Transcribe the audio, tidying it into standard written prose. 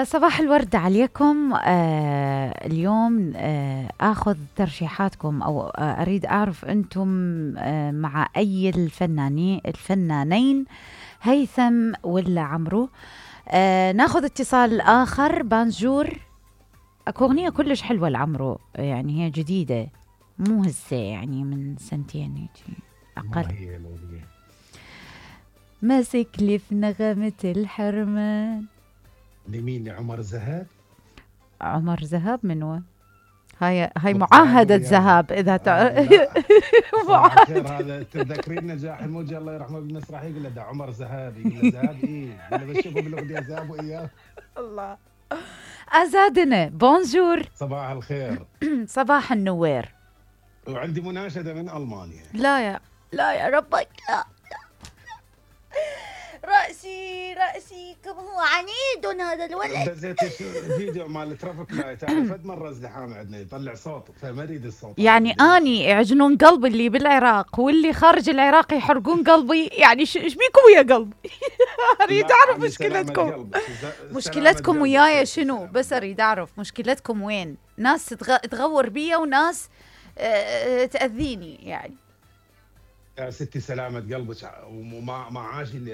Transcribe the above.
صباح الورد عليكم. اليوم اخذ ترشيحاتكم او اريد اعرف انتم مع اي الفنانين هيثم ولا عمرو. ناخذ اتصال اخر. بانجور. اكو اغنية كلش حلوة لعمرو، يعني هي جديدة مو هسه، يعني من سنتين هيك اقل. ماسك لي في نغمة الحرمان. لمين؟ عمر ذهب. عمر ذهب منو؟ هاي معاهدة ذهب إذا معاهدة. هذا تذكرين نجاح الموجي الله يرحمه بالمسرح، يقول له ده عمر ذهب، يقول له ذهب ايه، يقول له بشوفه بالاغنية ذهب وإياه. الله أزادنا. بونجور. صباح الخير. صباح النوير. وعندي مناشدة من ألمانيا. لا يا ربك، لا. رأسي كم هو عنيد هذا الولد. دزيت الفيديو مال الترافيك لايت، تعرف قد مرة ازدحام عندنا يطلع صوت، فما اريد الصوت. يعني اني يعجنون قلبي اللي بالعراق واللي خارج العراق يحرقون قلبي، يعني ايش بيكم ويا قلبي؟ اريد اعرف مشكلتكم وياي شنو، بس اريد اعرف مشكلتكم وين. ناس تغور بيا وناس تأذيني يعني. يا ستي سلامة قلبك، وما عاشي اللي